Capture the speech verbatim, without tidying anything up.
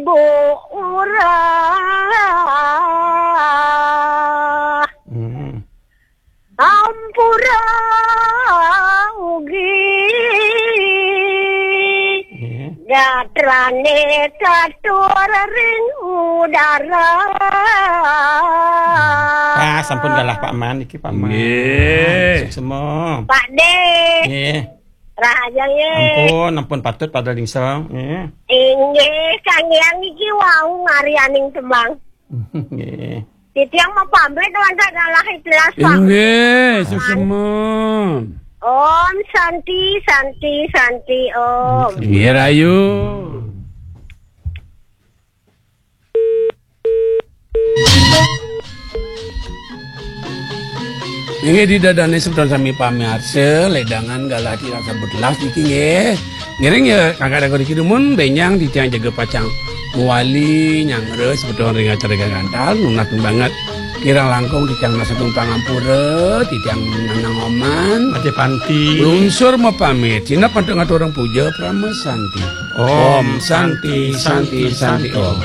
Bu urah. Hmm. Ampura ugi. Nggih. Gatrane katur ring udara. Ah, sampun galah Pak Man iki, Pak Man. Nggih. Suksma. Pak De. Nggih. Rahaja nggih. Ampun, ampun, patut pada lingsong. Nggih. Inggih, kanggiang iki wau ngarianing tembang. Nggih. Titiang mapamit wonten galah ikhlas, Pak. Inggih, suksma. Om Santi, Santi, Santi, Om. Inggih, rahayu. Inggih, ida dane semeton sami pamirsa, ledangan galah titiang sampun telas niki nggih. Ngiring ya, kakak dagor iki dumun, benjang titiang jaga pacang mawali nyanggra semeton ring acara gagantal, nunas banget. Kirang langkung titiang nunas agung pangampura, titiang nanang oman. Ade panti. Lungsur mapamit, sineb antuk ngaturang puja parama santi. Om Santi, Santi, Santi, Om.